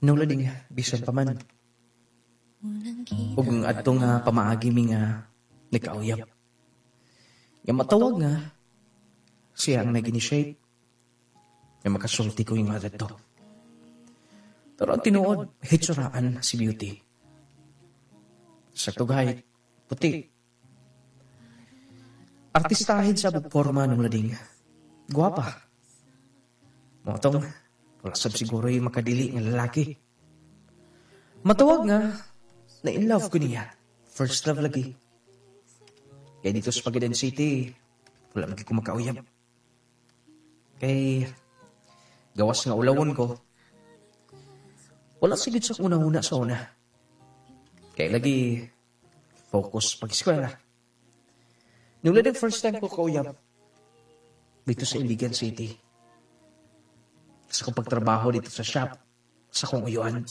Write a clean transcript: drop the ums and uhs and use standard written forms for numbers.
Nung lading, bisan pa man. Ug ang adto nga pamaagi mi nga nagkauyab. Nga matawag nga siya ang nag-initiate nga makasulti ko yung mga dito. Pero ang tinuod, hitsuraan si Beauty. Sa tughay, puti. Artistahin sa forma ng lading. Guwapa. Mao tong, wala sab siguro yung makadili nga lalaki. Matawag nga, na in love ko niya. First love lagi. Kaya dito sa Pagadian City, wala man ko makauyab. Kay, gawas nga ulawon ko, wala sigid sa una-una sa una. Kay lagi, focus pag-eskwela. Nung lading first time ko kauyab, dito sa Iligan City. Sa kong pagtrabaho dito sa shop, sa kong uyuan.